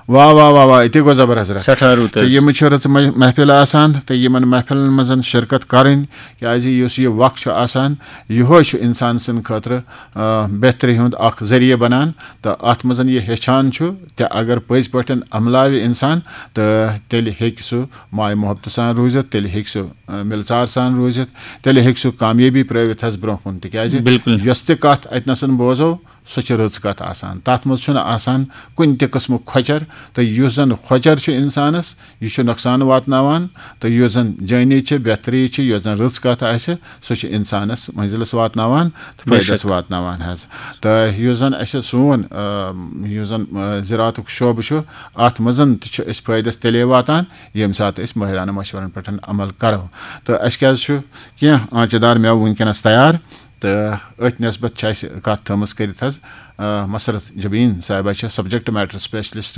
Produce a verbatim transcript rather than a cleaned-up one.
واہ واہ واہ واہ، یہِ تہِ گوٚو زبر حضرت۔ سٮ۪ٹھاہ رُت تہٕ حظ۔ یِم چھِ رٕژٕ مح- محفِل آسان، تہٕ یِمن محفِلن منٛز شرکت کرٕنۍ، کیازِ یُس یہِ وقت چھُ آسان، یِہوے چھُ انسان سٕنٛدِ خٲطرٕ آ، بہتری ہُنٛد اکھ ذٔریعہٕ بنان۔ تہٕ اتھ منٛز یہِ ہیٚچھان چھُ، تہٕ اگر پٔزۍ پٲٹھۍ عملاوِ انسان، تہٕ تیٚلہِ ہیٚکہِ سُہ ماے محبتہٕ سان روٗزِتھ، تیٚلہِ ہیٚکہِ سُہ آ، مِلژار سان روٗزِتھ، تیٚلہِ ہیٚکہِ سُہ کامیٲبی پرٲوِتھ حظ برونٛہہ کُن۔ تِکیازِ بِلکُل۔ یۄس تہِ کتھ اتہِ نسن بوزو، سۄ چھِ رٕژ کتھ آسان۔ تتھ منٛز چھُنہٕ آسان کُنہِ تہِ قٕسمُک کھۄچر، تہٕ یُس زن کھۄچر چھُ انسانس، یہِ چھُ نۄقصان واتناوان، تہٕ یُس زن جٲنی چھِ، بہتری چھِ، یۄس زن رٕژ کتھ آسہِ، سۄ چھِ انسانس منزلس واتناوان تہٕ بے فٲیدس شک۔ واتناوان حظ۔ تہٕ یُس زن اسہِ سون آ، یُس زن آ، زراعتُک شعبہٕ چھُ، اتھ منٛز تہِ چھُ أسۍ فٲیدس تیٚلے واتان، ییٚمہِ ساتہٕ أسۍ مٲہرانہٕ مشورن پٮ۪ٹھ عمل کرو۔ تہٕ اسہِ کیازِ چھُ کینٛہہ آنچہِ دار مٮ۪وٕ وٕنکیٚنس تیار، تہٕ أتھۍ نسبت چھِ اسہِ کتھ تھٲومٕژ کٔرِتھ حظ آ، مسرت جبین صاحبہ چھِ سبجیکٹ میٹر اسپیشلسٹ۔